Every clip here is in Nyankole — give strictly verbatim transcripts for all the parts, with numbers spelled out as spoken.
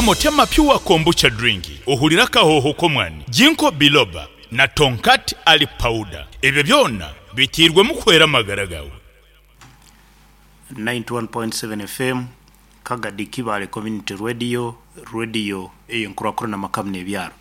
Nywa Motema Pure Kombucha Drink ohurire akahooho k'omwani, Ginkgo Biloba na Tongkat Ali Powder. Ebyo byona biteirwemu kuhwera amagara gaawe. ninety one point seven F M, Kagadi Kibaale Community Radio, radio ey'enkurakurana amaka n'ebyaro.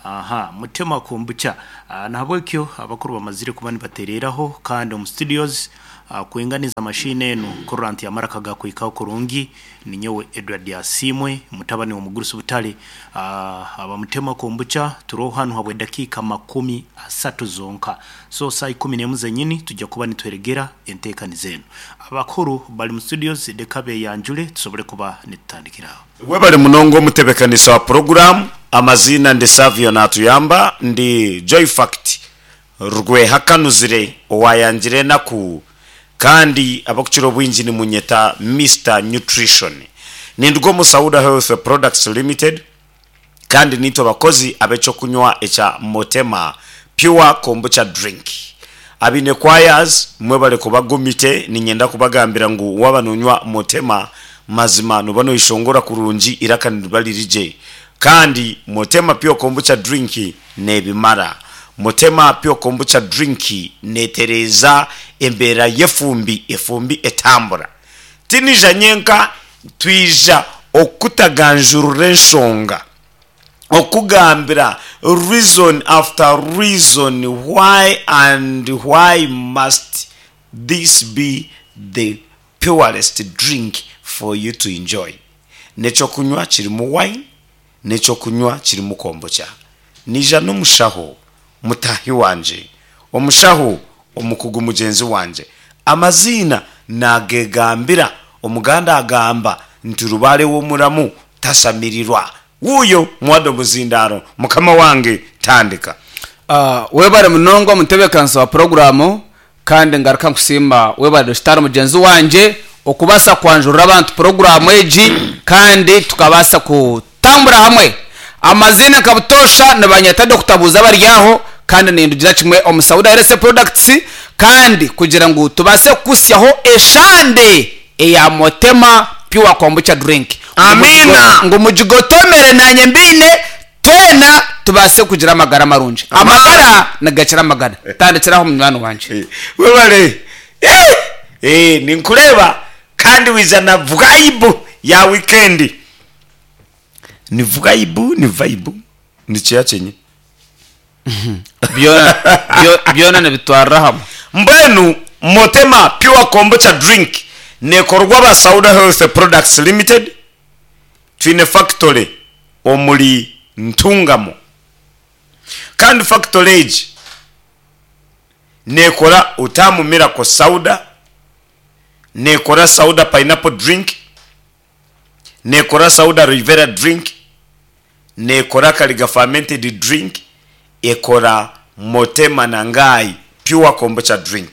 Aha, Mutema Kombucha. Ah, nahabwekyo abakuru bamazire kuba nibatereeraho kandi omu studios ah, kwinganiza mashini enu kurora nti amaraka gakwikaho kurungi ninyowe Edward Asiimwe, mutabani w'omugurusi Butale. ah, abamutema Kombucha turoho hanu habwe dakiika makumi asatu zonka, so saa ikumi n'emu zenyini tujja kuba nitweregera enteekaniza enu. Abakuru bali mu studios, leka beyanjule tusobole kuba nitutandikiraho. Webale munonga omutebekanisa wa puroguramu. Amaziina ndi Savio Natuyamba, ndi Joyfact Rwehakanuzire owayangire enaku, kandi abakukira obwingi nimunyeta Mister Nutrition. Ninduga omu Sauda Health Products Limited, kandi nitwe abakozi ab'ekyokunywa ekya Motema Pure Kombucha Drink. Abaine choirs mwebale kuba gumite. Niinyenda kubagambira ngu waaba noonywa Motema, mazima nooba noyeshongora kurungi, iraka niriba riri gye. Kandi Motema Pure Kombucha Drink neebimara. Motema Pure Kombucha Drink neetereeza embeera y'efumbi, efumbi etambura. Tiniija nyenka, twija okutaganjurura enshonga, okugambira reason after reason why and why must this be the purest drink for you to enjoy. N'ekyokunywa kirimu wine, n'ekyokunywa kirimu kombucha. Niija n'omushaho mutaahi wangye, omushaho omukugu mugyenzi wangye. Amaziina naagegambira. Omuganda agamba nti rubaare w'omuramu tashamirirwa. Wuuyo muwade omuzindaaro, mukama wange, tandika. Ah, webare munonga omutebekanisa wa puroguramu, kandi ngaruka nkusiima. Webare Dokitaari mugyenzi wangye okubaasa kwanjurira abantu puroguramu egi kandi tukabaasa kutambura hamwe. Amaziina nka butoosha nibanyeta Doctor Buuza Baryaho, kandi nindugira kimwe omu Sauda Health Products, kandi kugira ngu tubaase kukusyaho eshande eya Motema Pure Kombucha Drink. Amiina. Ngu mugigotomere nanye mbiine, twena tubaase kugira amagara marungi. Amagara nigakira amagana. Tandikiraho, munywani wangye. Webale. Eh, eh, ninkureeba kandi wiza na vibe ya weekend. Ni vibe, ni vibe, ni kiya kyenye. Byona byo- byona nibitwarira hamwe. Mbwenu Motema Pure Kombucha Drink nekorwa aba Sauda Health Products Limited. Twine factory omuri Ntungamo, kandi factory egi nekora Utamu Miracle Sauda, nekora Sauda Pineapple Drink, nekora Sauda Rivera Drink, nekora Kaliga Fermented Drink, ekora Motema Nangai Pure Kombucha Drink.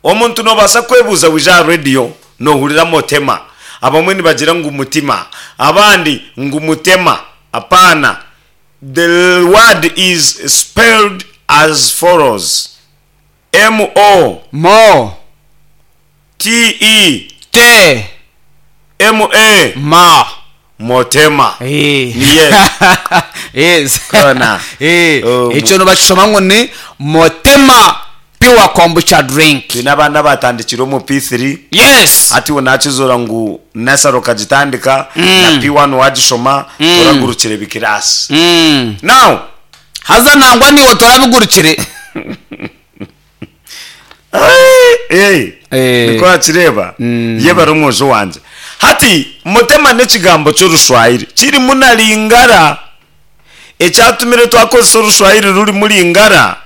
Omuntu nobaasa kwebuuza, wija aha radio nohurira Motema, abamwe nibagira ngu mutima, abandi ngu mutema. Apana, the word is spelled as follows: M O Mo. T E T. M A. Ma. Motema. Eh. Niye. Yes. Kona. Eh, Oh, ekyo nibakishoma ngu ni Motema Pure Kombucha Drink. Twine abaana batandikire omu P three. Yes. Hati we nakizoora ngu nasaro okagitandika na P one wagishoma, toragurukire bikirasi. Mm. Now Haza nangwa niwe torabigurukire. Eh, Eh. niko wakireba ye bari omwojo wangye. Hati mutema n'ekigambo ky'orushwahiri kirimu na lingara. Ekyatumire twakozesa orushwahiri rurimu lingara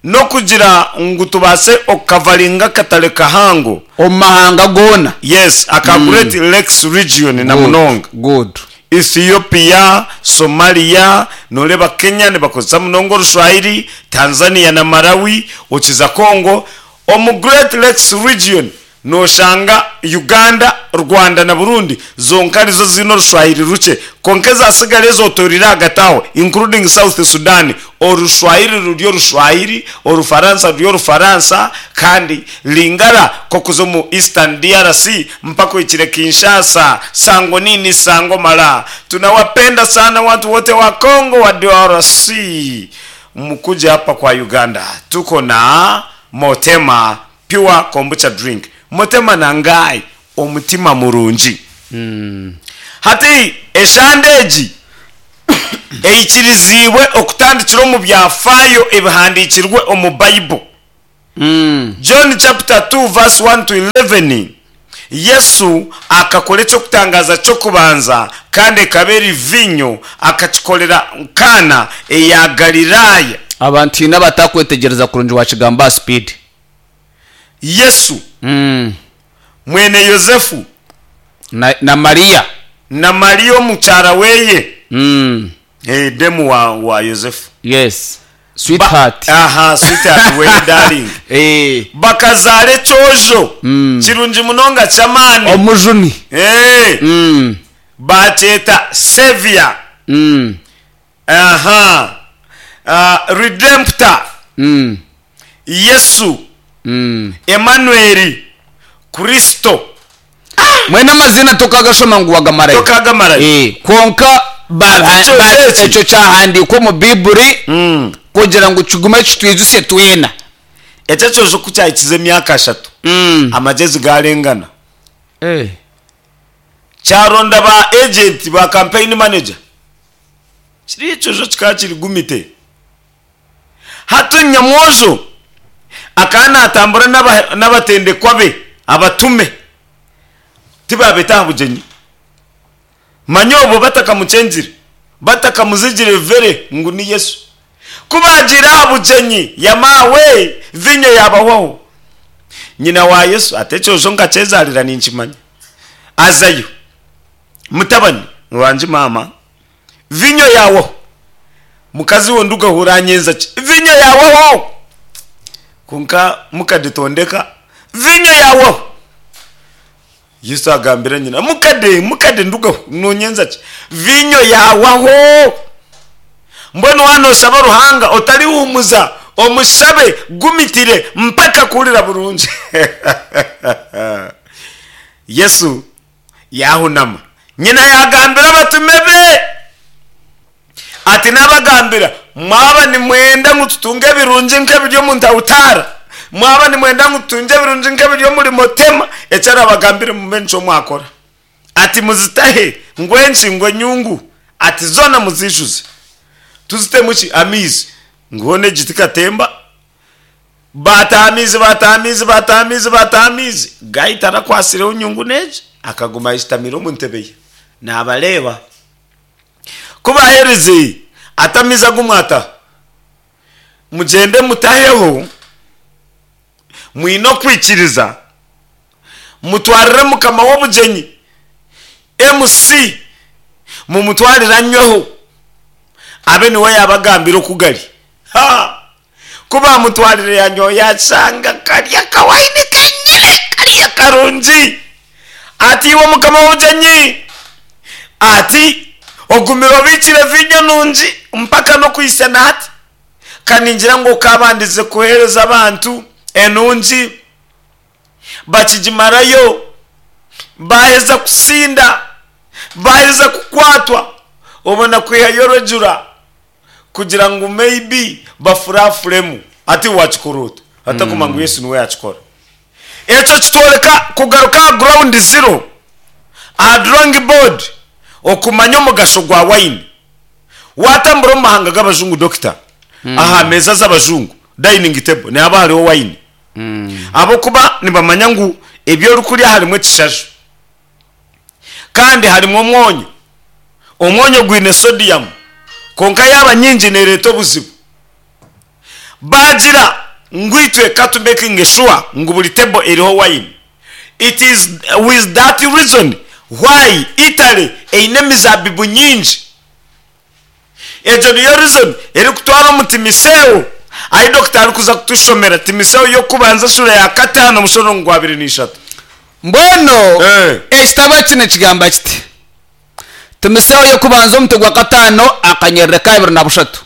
n'okugira ngu tubaase okukavaringa akatare kahango omu mahanga goona. Yes, aka Great Lakes Region na munonga Good. Ethiopia, Somalia, noreba Kenya nibakozesa munonga orushwahiri, Tanzania na Malawi, okiza Congo. Omu Great Lakes Region Noshanga Uganda, Rwanda na Burundi zonka nizo ziine orushwahiri rukye, kwonka ezasigara ezotoreire ahagati aho, including South Sudan, orushwahiri ruri orushwahiri, orufaransa ruri orufaransa, kandi Lingala k'okuza omu Eastern D R C mpaka ohikire Kinshasa, sango nini sango mala. Tunawapenda sana watu wote wa Congo, wa D R C, mkuje hapa kwa Uganda. Tuko na Motema Pure Kombucha Drink. Motema na ngai omutima murungi. Hati eshande egi eikirizibwe okutandikira omu byafaayo ebihandikirwe omu Bible. Mm. John chapter two verse one to eleven, Yesu akakora ekyokutangaza kyokubanza, kandi ekaba eri vinyo, akakikorera Kana eya Galilaya. Abantu ina batakwetegereza kurungi wakigamba speed. Yesu mm. mwene Yosefu na, na Mariya. Na Mariya omukyara weye. mm. Eh, demu wa, wa Yosefu. Yes, sweetheart. Ba, aha, sweetheart weye, darling. Eh. Bakazaara ekyojo Mm. kirungi munonga kyamaani. Omujuni. Eh, mm. bakyeta Savior. mm. Aha, uh, Redemptor. mm. Yesu. mm. Emanueli, Kristo. Mwene amazina tukagashoma ngu wagamarayo. Tokagamarayo. Eh, kwonka ba- Ekyo ba- eki. Ekyo kyahandikwa omu Biburi mm. kugira ngu kigume kitwijuse twena. Ekyo kyojo kukyahikiza emyaka ashatu, mm. amagezi garengana. Eh. Kyaronda ba agent, ba campaign manager. Kiri ekyojo kikaba kiri gumite. Hati nyamwojo akaba natambura n'aba- n'abatendekwa be, abatume, tibabeta aha bugyenyi. Manya obwo batakamukyengire, batakamuzigire vere ngu ni Yesu. Kubagira aha bugyenyi, yamawe vinyo yabahwaho. Nyina wa Yesu ate ekyojo nkakyezarira, ninkimanya. Azayo, mutabani wanje, mama, vinyo yawaho. Mukazi wo ndugahura anyenza ki? Vinyo yawaho. Konka mukaditondeka, vinyo yawaho. Yesu agambira nyina, mukade, mukade, ndugaho nonyenza ki? Vinyo yawaho. Mbwenu wano osaba Ruhanga, otariwumuza, omusabe gumitire mpaka kuhurira burungi. Yesu yahunama, nyina yagambira abatume be ati, nabagambira, mwaba nimwenda ngu tutunge ebirungi nk'ebiri omu ntawutara, mwaba nimwenda ngu tutunge ebirungi nk'ebiri omuri Motema, ekyarabagambire mube nico mwakora. Ati muzitahe ngwenki, ngwenyungu, ati zona muzijuze. Tuzitemu ki? Amiizi. Nguhone egiti katemba. Bataha amiizi, bataha amiizi, bataha amiizi, bataha amiizi. Gahita arakwasireho nyungu n'egi, akaguma ahitamire omu ntebe ye nabareeba. Kubahereze ati amiizi agumwata, mugende mutaheho, mwine okwikiriza, mutwarire mukama w'obugyenyi, M C, mumutwarire anyweho, abe niwe yabagambira okugari. Ha, kuba mutwarire yanyweho, yashanga karya kawayini kenyine kariya karungi. Ati iwe mukama w'obugyenyi, ati ogumire obikire vinyo nungi mpaka n'okwisana hati. Kaningira ngu okabandize kuhereza abantu enungi, bakigimarayo, baheza kusinda, baheza kukwatwa, obona kwihayo rejura kugira ngu maybe bafurafuremu. Ati wakikora ota? Atakuma ngu Yesu niwe yakikora. Ekyo kitworeka kugaruka aha ground zero, aha drawing board, okumanya omugasho gwa wine. Watambura omu mahanga g'abajungu, dokita, aha meza z'abajungu, dining table, nihaba hariho wine, abokuba nibamanya ngu ebyo orikurya harimu ekishaju kandi harimu omwonyo. Omwonyo gwine sodium, konka yaba nyingi nereeta obuzibu. Bagira ngu itwe katu making sure ngu buri table eriho wine. It is with that reason why Italy eine emizabibu nyingi. Egyo niyo reason erikutwara omu Timoteyo, ahi dokita arikuza kutushomera Timoteyo yokubanza shura ya kataano, omushoro gwa abiri n'ishatu. Mbwenu Eh. ekitabo kino kigamba kiti timiseho yokubanza omutwe gwa kataano akanyerere ka abiri na bushatu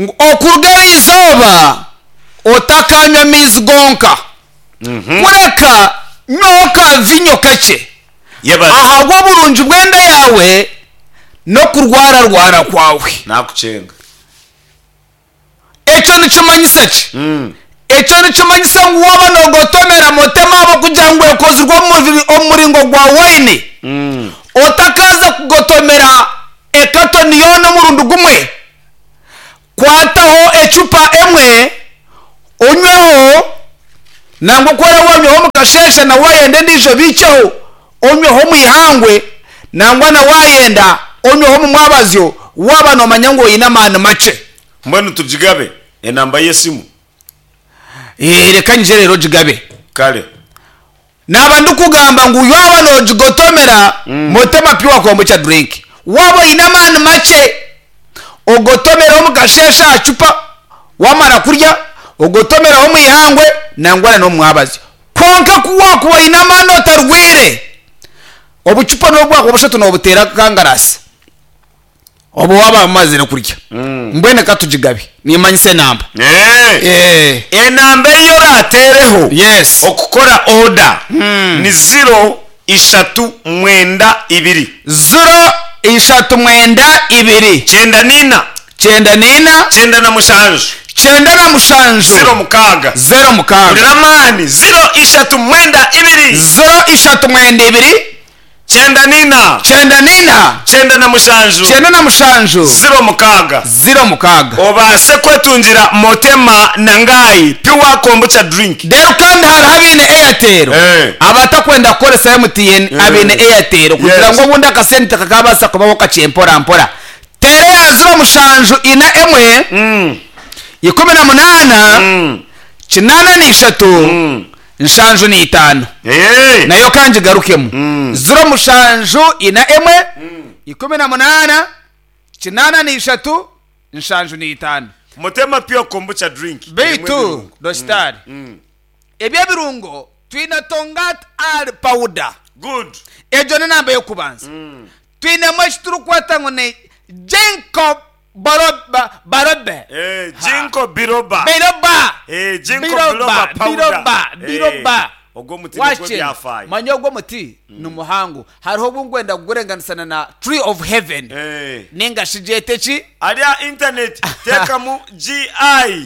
ngu okuruga erizooba otakanywa amaizi gonka, kureka nywaho ka vinyo kakye Yebare. ahabw'oburungi bw'enda yawe n'okurwararwara kwawe. Nakucenga. Ekyo nikimanyisa ki? Mm. Ekyo nikimanyisa ngu waba nogotomera mutema abo kugira ngu ekozirwe omu- omu muringo gwa waini, Mm. otakaza kugotomera ekatoni yoona omurundi gumwe, kwataho ecupa emwe onyweho, nangwa kwera wanyweho mukasheshe na wayenda endiijo biikyeho onyweho mwihangwe, nangwa na wayenda onyweho mu mwabazyo waba nomanya ngu oyine amaani makye. Mbwenu tugigabe enamba y'esimu. Eh, reka nyije rero gigabe. Kale. Naba ndikugamba ngu yaba nogigotomera mutema pure kombucha drink, waba oyine amaani makye ogotomeraho mukasheshe aha cupa wamara kurya, ogotomeraho mwihangwe nangwa n'omwabazyo. Konka ku wakuba oyine amaani otarwire, obucupa n'obwako bushatu nobuteera kangarasi obu waba wamazire kurya. Mbwenu katugigabe nimanyisa enamba. Eh. Eh, enamba eyo orateereho yes okukora oda ni ziro ishatu mwenda ibiri, ziro ishatu mwenda ibiri, cyenda nina, cyenda nina, cyenda na mushanju, cyenda na mushanju, ziro mukaaga. Zero mukaaga. Urira amani: ziro ishatu mwenda ibiri, zero ishatu mwenda ibiri, cyenda nina, cyenda nina, cyenda na mushanju, cyenda na mushanju, ziro mukaaga. Zero mukaaga. Obase kwetungira motema na ngayi pure kombucha drink. Rero kandi hariho abaine Airtel, Eh. abatakwenda kukoresa M T N, abaine Airtel kugira Yes. ngu obundi akasente kakabasa kubaho kakye mpora mpora, tere ya ziro mushanju ina emwe, Mm. ikumi na munaana, Mm. kinaana n'ishatu, Mm. nshanju n'itaano. Eh. Nayo kangi garukemu: Mm. ziro mushanju ina emwe ikumi na munaana kinaana n'ishatu nshanju n'itaano. Motema pure kombucha drink. Beitu dositari Mm. ebyebirungo twine tongat al powder. Good. Egyo ni namba y'okubanza. Twinemu eki turikweta ngu ni jinko baroba barobe. Eh, jinko biroba. Biroba. Eh, jinko Biroba, biroba powder. biroba, Eh, biroba. Ogwo muti nigwo Wache, byafaayo. manya ogwo muti ni muhango, hariho obungwenda kugurenganisana na tree of heaven, Eh. ninga shigyete ki? Arya internet tekamu gi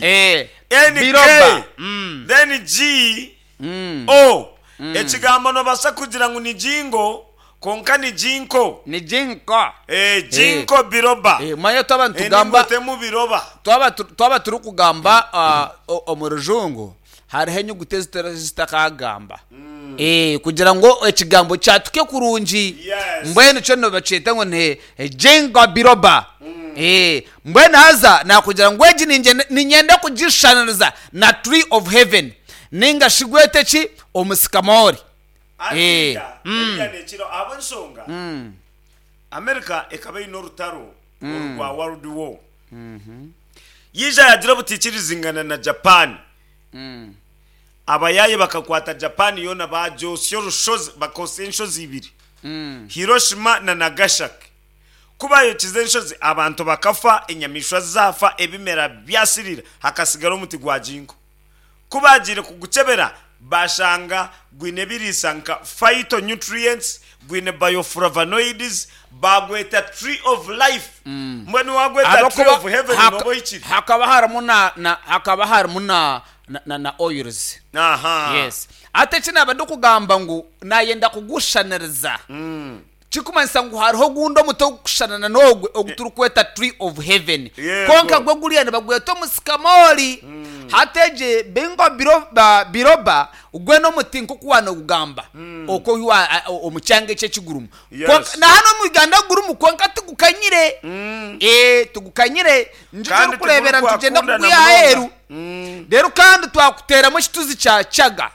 Eh, N biroba. K Mm. then G O, ekigambo nobasa kugira ngu ni jingo konka ni jinko. Ni jinko. Eh, jinko biroba. Eh, manya twaba Eh, nitugamba ningotemu biroba. twaba tu- twaba turi kugamba ah, o- omu rujungu hariho enyuguti ezitari zitakagamba. Eh, kugira ngo ekigambo kyatuke kurungi. Yes. Mbwenu kyo nibakyeta ngu ni jingo biroba. Eh, mbwenu haza nakugira ngu egi ningyenda- ninyenda kugishaniriza na tree of heaven ninga shigwete ki omusikamori. Eh, Afrika, eriya nekiro ab'ensonga America ekaba eine orutaro orwa World War, yija yagira obutikirizingana na Japan. Abayaye bakakwata Japan yoona, bajosya orushozi, bakosa enshozi ibiri, Hiroshima na Nagasaki. Kubayokiza enshozi, abantu bakafa, enyamaishwa zafa, ebimera byasirira, hakasigara omuti gwa jinko. Kubagiire kugucebera bashanga gwine biriisa nka phytonutrients, gwine bioflavonoids, bagweta tree of life. Mbwenu wagweta tree of heaven Haka- noba ohikire. Hakaba harimu na na hakaba harimu na na, na, na oils. Aha. Yes, ate eki naba ndikugamba ngu nayenda kugushaniriza, kikumanyisa ngu hariho ogundi omuti ogukushanana n'ogwe ogu turikweta tree of heaven. Yego. Konka gwe guriya nibagweta omusikamori. Hati bingo biroba, biroba gwe n'omuti nk'oku wanogugamba okwo wa- a- o- omu kyanga eki ekigurumu. Yes. Konka- na hano omu Uganda gurumu, konka tigukanyire. Eh, tugukanyire njo Kandi turikureebera nitugenda tigurikwakundana kugwiha aheeru. munonga. Rero kandi twakuteramu ekituzi kya chaga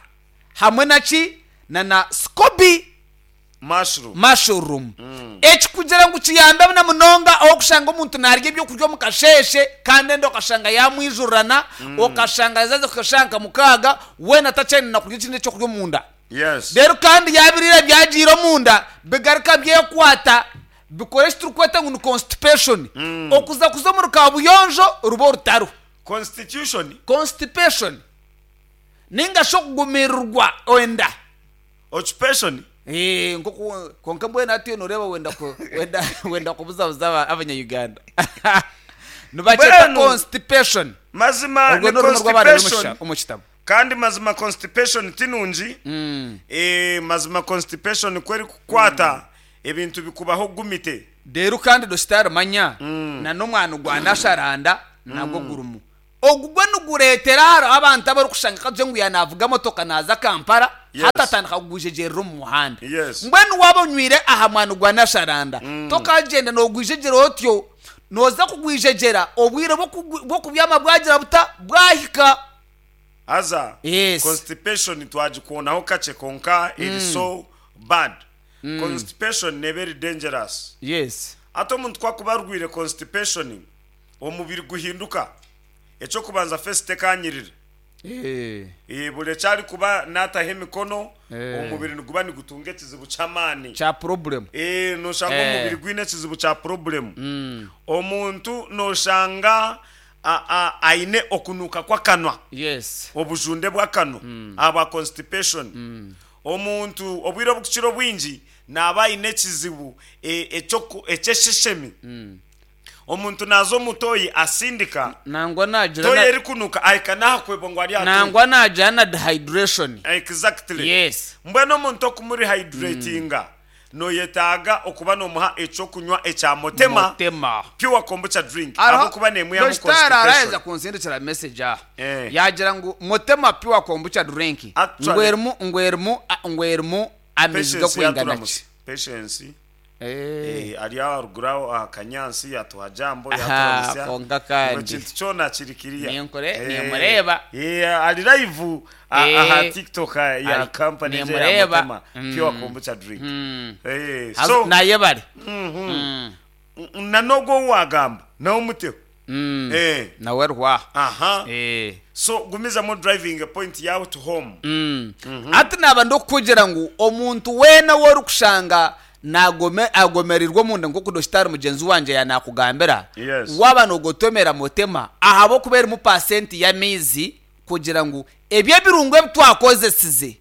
hamwe naki na na scoby mushroom. Mushroom eki kugira ngu kiyambe na munonga aho kushanga omuntu narya ebyokurya omu kasheshe kandi enda okashanga yamwijurana, okashanga yazaza kukashanga mukaaga wena atakyayine na kurya ekindi ekyokurya omunda. Yes. Rero kandi yabirira byagiire omunda bigaruka byekwata bikora eki turikweta ngu ni constipation, okuza kuza omu rukabuyonjo ruba orutaro. Constitution. Constipation ninga shi okugumirirwa enda. Occupation. Eh, nkoku konka mbwenu hati noreeba wenda ku- wenda wenda kubuzabuza aba- abanya-Uganda nibakyeta Mbwenu, constipation. Mazima Urwo ni ni orurimi rw'abaana ruri omu constipation. kisha- omu kitabo. Kandi mazima constipation tinungi. Eh, mazima constipation kweri kukwata ebintu bikubaho gumite. Rero kandi dositari manya na n'omwana gwa nasharanda nagwo gurumu ogu gwe nigureetera hariho abantu abarikushanga kaje ngu yanavuga motoka naza Kampala, Yes. hati atandika kugwijegerera omu muhanda. Yes. Mbwenu waba onywire aha mwana gwa nasharanda, tokagenda nogwijegyera otyo, noza kugwijegyera obwire bw'okugwi- bw'okubyama bwagira buta bwahika. Aza Yes. constipation twagikuonaho kakye, konka iri so bad. Constipation ni very dangerous. Yes. Ate omuntu kwakuba arwire constipation, omubiri guhinduka. Ekyokubanza, face tekanyirira. Eh. Eh, buri ekyari kuba nataho emikono, Eh. omubiri niguba nigutunga ekizibu ky'amaani. Kya problem. Eh, noshanga Eh. omubiri gwine ekizibu kya problem. Omuntu noshanga a- a- aine okunuka kw'akanwa, Yes. obujunde bw'akanwa aba constipation. Omuntu obwire obukukira obwingi naaba aine ekizibu eh, ekyoku- ekyesheshemi. Omuntu naza omutoyi asindika Nangwa nagira toyi na- erikunuka, ahika nahakwebwa ngu ari aha toyi. nangwa nagira na dehydration. Exactly. Yes. Mbwenu omuntu okumurihydratinga, noyetaaga okuba nomuha ekyokunywa ekya Motema Motema Pure Kombucha drink, ahabwokuba nemwihamu Dositari araheza constipation. kunsindikira message aha, Eh. yagira ngu Motema Pure Kombucha drink Actually- ngwerimu ngwerimu a- ngwerimu amaizi Patience gakwingana yaturamusa. ki? Patience. Eh. Eh, ari aharuguru aho aha Kanyansi yatuha jambo. Aha, Yaturamusa. konka kandi. Ngo kintu kyona kiri kiriya. Ninkore- Eh, nimureba. eh, ari live a- Eh. aha TikTok ya Ari- company je ya nimureba. Motema Mm. Pure Kombucha drink. Eh, Haza- so naye bari na nogwo wagamba nawe muteho. Mm. Eh. Nawe rwa. Aha. Eh. So gumizamo driving a point yawe to home. Mm. Ati naba ndokukugira ngu omuntu weena worikushanga nagome agomererwa omunda, nkoku dositari mugenzi wanje yanakugambira, Yes. waba nogotomera Motema ahabwokuba erimu pasenti y'amaizi kugira ngu ebyo ebirungo ebi twakozesize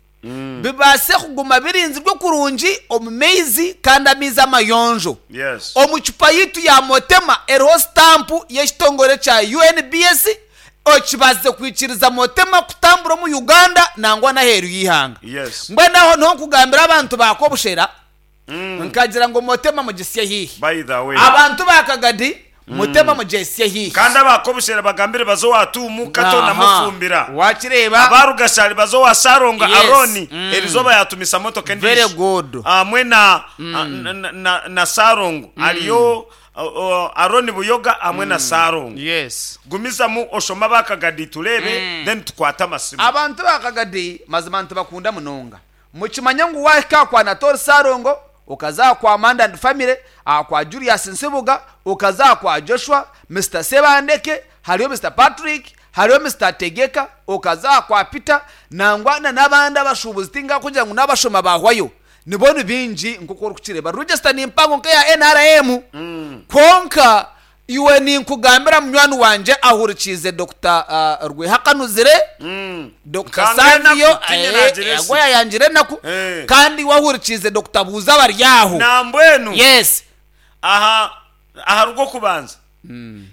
bibaase kuguma birinzirwe kurungi omu maizi, kandi amaizi amayonjo. Yes. Omu cupa yitu ya Motema eriho sitampu y'ekitongore kya U N B S okibazize kwikiriza Motema kutambura omu Uganda nangwa n'aheeru y'ihanga. Yes. Mbwenu aho niho nkugambira abantu bakobushera nkagira ngo Motema mugisye hihi. By the way, Abantu bakagadi, Motema mugisye hihi. Kandi abakobushera bagambire bazo watumu kato Aha. namufumbira. Wakireba. Abarugashari bazo wasaronga. Yes. Aroni, Mm. erizoba yatumisa motoka Very endishi. good. Amwe na, na, na, na, na Sarongo ariyo uh, uh, Aroni Buyoga amwe na Sarongo. Yes. Gumizamu oshoma bakagadi turebe, then tukwate amasimu. Abantu bakagadi mazima ntibakunda munonga. Mukimanya ngu wahika kwa Natori Sarongo, ukaza kwa Amanda and family, ah, kwa Julius Nsibuga, ukaza kwa Joshua, Mr Sebandeke, hariyo Mr Patrick, hariyo Mr Tegeka, ukaza kwa Peter nangwa na n'abandi abashubuzi, tinga kugira ngu n'abashoma bahwayo nibona bingi. Nkuko uri kukireba, register ni impango nk'eya N R M. Konka iwe ninkugambira munywani wanje ahurikize Dr uh, Rwehakanuzire, Dr Nkanga Savio. enaku, tinye nagira esi. Yagwa yayangire enaku. Eh. Kandi wahurikize Dr Buuza baryaho. Nambwenu Yes. aha aha rwokubanza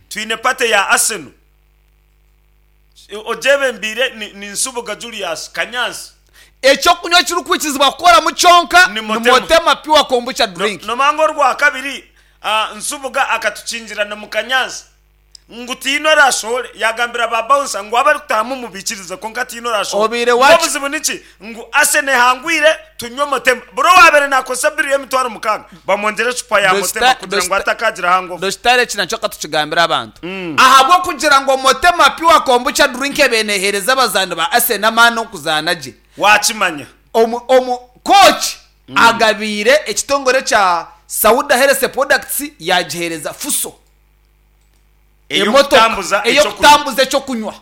twine party ya Arsenal ojebembire ni, ni Nsubuga Julius Kanyansi. Ekyokunywa kirikwikizibwa kukoramu kyonka Ni ni Motema. Motema Pure Kombucha drink. Nomanga orwa kabiri, ah, Nsubuga akatukinjirana mu Kanyansi ngu tiino arashobore, yagambira ba bouncer ngu abari kutahamu mubikirize, konka tiino arashobore. Obiire wachi- Obuzibu niki? Ngu Arsenal ehangwire, tunywe Motema. Buro wabere nakosa biri y'emitwaro mukaaga, bamwongere ecupa ya Dosta- Motema kugira ngu Dosta- atakagira hangover. Dositare eki nakyo katukigambira abantu ahabwokugira ngo Motema Pure Kombucha drink ebenehereza abazaani ba Arsenal amaani okuzaana gye. Wakimanya. Omu omu coach agabiire ekitongore kya Sauda Health Products, yagihereza Fuso Eyokutambuza ey'okutambuza ekyokunywa.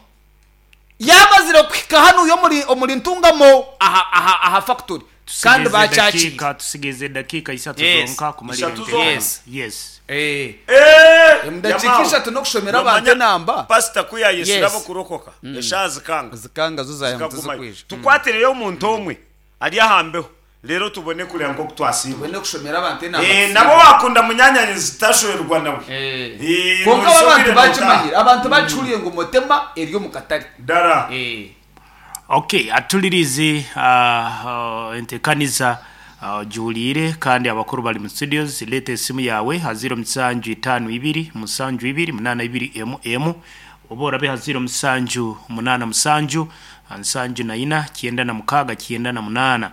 Yamazire kuhika hanu omuri omuri Ntungamo aha aha aha factory kandi Tusigaze bakyakire. dakiika tusigaze dakiika isatu Yes. zonka kumalira Ishatu enteekaniza. Yes. Yes. Eh. Eh, Omu dakiika yamaawe. ishatu n'okushomera abantu Nomanya enamba. pasita ku yayesire Yes. abo kurokoka eshaaha zikanga Zikanga zo zayamba zikagumayo tizikwija. tukwatireyo omuntu omwe ari ahambeho rero tubone kureba nk'oku twasiibwa Tubone kushomera abantu enamba. Eh, nabo wakunda munyanyanyi zitashwerwa nawe Eh. Eh, Konka nosobire abantu notaha. bakimanyire abantu bakihuriye ngu Mutema eri omu katare. dara Eh. Okay, atulirize uh, uh, entekaniza uh, juhulire kandi abakuru bali mu studios. Leta esimu yawe ha ziro musanju itano ibiri musanju ibiri munana ibiri emu emu, oba orabe ha ziro musanju munana musanju nsanju na ina kyenda na mukaga kyenda na munana.